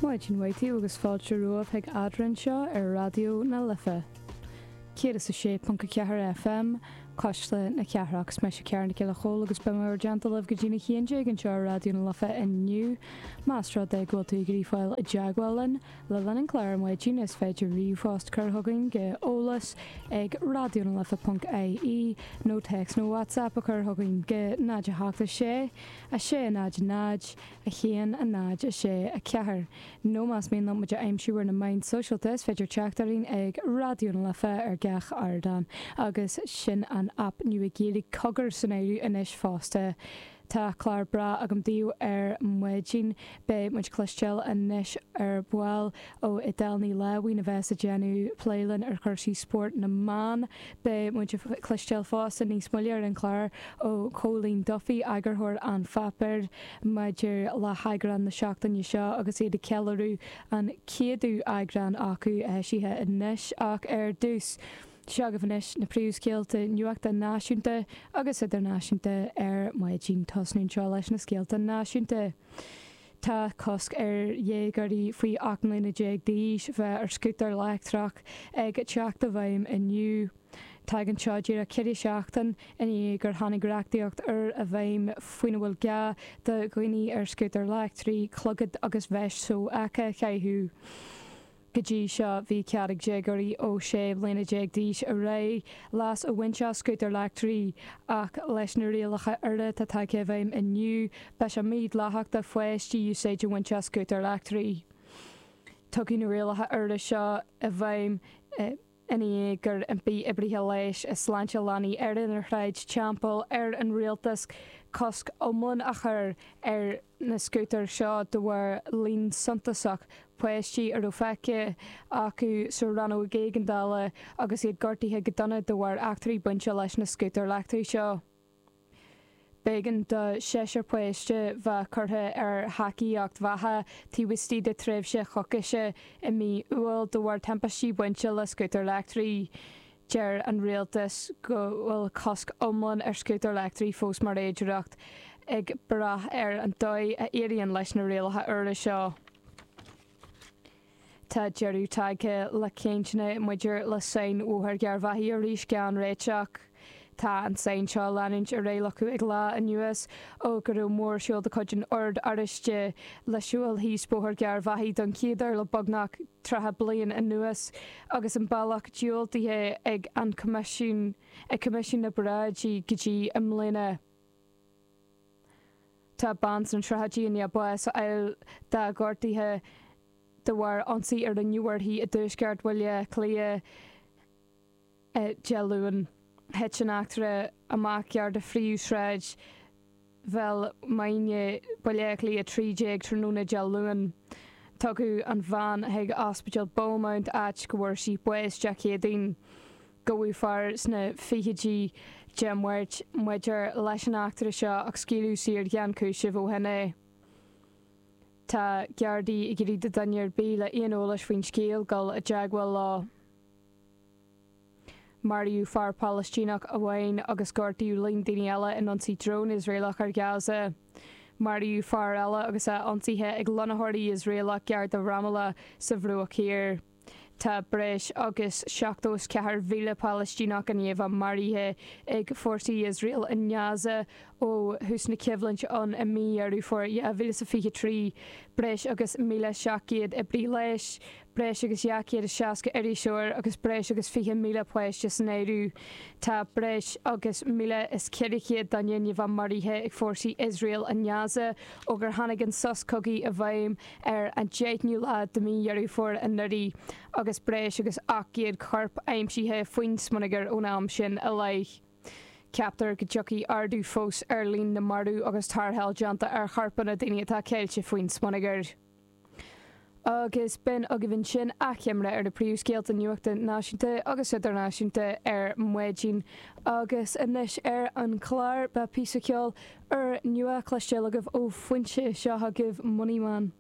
Maidin mhaith daoibh agus fáilte romhaibh chuig Eadrainn anseo ar Raidió na Life 106.4 FM, Cuisle na Cathrach. Is mise Ciara Nic Giolla Chóill agus beidh mé bhur dteannta libh go dtí'n 11 anseo ar Raidió na Life inniu. Más rud é go bhfuil tú ag iarraidh fáil i dteagmháil linn le linn an chláir ar maidin is féidir ríomhphost cur chugainn go eolas ag raidionalife.ie nó téacs nó WhatsApp a chur chugainn go 0 8 6 6 0 0 1 0 6 4 Nó más mian leat muid a aimsiú ar na meáin sóisialta is féidir teacht orainn ag Raidió na Life ar gach ardán agus sin an aip nua Gaeilge Cogar san áireamh anois fosta. Tá clár breá agam daoibh ar maidin. Beidh muid ag cloisteáil anois ar ball ó Edel Ní Láimhín a bheas ag déanamh plé linn ar chúrsaí spóirt na mban. Beidh muid ag cloisteáil fosta níos moille ar an chlár ó Chóilín Duffy, eagarthóir An Pháipéir, maidir le heagrán na seachtaine seo agus iad ag ceiliúradh an céadú eagrán acu eisithe anois. Ach ar dtús, seo agaibh anois na príomhscéalta nuachta náisiúnta agus idirnáisiúnta ar maidin. Tosnú anseo leis na scéalta náisiúnta. Tá cosc ar dhéagóirí faoi 18 mbliana d'aois bheith ar scútar leictreach ag teacht i bhfeidhm inniu. Tagann seo díreach 4 seachtain i ndiaidh gur tháinig reachtaíocht úr i bhfeidhm faoina bhfuil gá do dhaoine ar scútair leictrigh clogad agus veist sofheicthe a chaitheamh. Go dtí seo bhí cead ag déagóirí ó 16 bliana d'aois ar aghaidh leas a bhaint as scútar leictrigh ach leis na rialacha úra atá tagtha i bhfeidhm inniu beidh sé mídhleathach do pháistí úsáid a bhaint as scútar leictrigh. Tugadh na rialacha úra seo i bhfeidhm i ndiaidh gur impigh oibrithe leighis i Sláinte Leanaí Éireann ar Shráid Teampall ar an rialtas cosc iomlán a chur ar na scútair seo de bharr líon suntasach páistí a raibh feicthe acu sa rannóg éigeandála agus iad gortaithe go dona de bharr eachtraí bainte leis na scútair leictrigh seo. B'éigean do sheisear páiste bheith curtha ar thacaíocht bheatha taobh istigh de tréimhse choicíse i mí Iúil de bharr timpistí bainte le scútair leictrigh. Deir an rialtas go bhfuil cosc iomlán ar scútair leictrigh fós mar fhéidearthacht, ag brath ar an dóigh a éiríonn leis na rialacha úra seo. Tá deireadh tagtha le cainteanna maidir le sáinn Bhóthar Gharbhachaidh arís gan réiteach. Tá an tsáinn seo ag leanúint ar aghaidh le cúig lá anuas ó go raibh mórshiúl de chuid an Oird Oráistigh le siúl thíos Bóthar Gharbhachaidh don chéad uair le beagnach 30 bliain anuas agus an bealach diúltaithe ag an Coimisiún ag Coimisiún na bParáidí go dtí i mbliana. Tá bean sna tríochaidí i ndiaidh bás a fháil dá gortuithe de bharr ionsaí a rinneadh uirthi i dtuaisceart Bhaile Átha Cliath Dé Luain. Thit an eachtra amach gar do phríomhshráid Bhéal Mhuirthile, Baile Átha Cliath 13 tráthnóna Dé Luain. Tugadh an bhean chuig Ospidéal Beaumont áit go bhfuair sí bás Dé Céadaoin. Gabhadh fear sna fichidí Dé Máirt maidir leis an eachtra seo ach scaoileadh saor gan cúiseamh ó shin é. Tá Gardaí ag iarraidh do dhuine ar bith le aon eolais faoin scéal dul i dteagmháil leo. Maraíodh fear Palaistíneach amháin agus gortaíodh líon daoine eile in ionsaí drón Iosraelach ar Ghaza. Maraíodh fear eile agus é ionsaithe ag lonnaitheoirí Iosraelach gar do Ramallah sa Bhruach Thiar. Tá breis agus 74,000 Palaistíneach i ndiaidh a bheith maraithe ag fórsaí Iosrael i nGaza ó thús na coimhlinte ann i mí Dheireadh Fómhair 2023. Breis agus 1,700 oibrí leighis, breis agus 260 iriseoir agus breis agus 20,000 páiste san áireamh. Tá breis agus 1,400 duine i ndiaidh a bheith maraithe ag fórsaí Iosrael i nGaza ó gur tháinig an sos cogaidh i bhfeidhm ar an 10ú lá de mhí Dheireadh Fómhair anuraidh agus breis agus 800 corp aimsithe faoin smionagar ón am sin i leith. Ceaptar go dtiocfaidh ardú fós ar líon na marbh agus tarrtháil déanta ar chorpanna daoine atá ceilte faoin smionagar. Agus b'in agaibh ansin achoimre ar na príomhscéalta nuachta náisiúnta agus idirnáisiúnta ar maidin. Agus anois ar an chlár, beidh píosa ceoil úr nua cloisteáil agaibh ó Foinse. Seo agaibh Moneyman.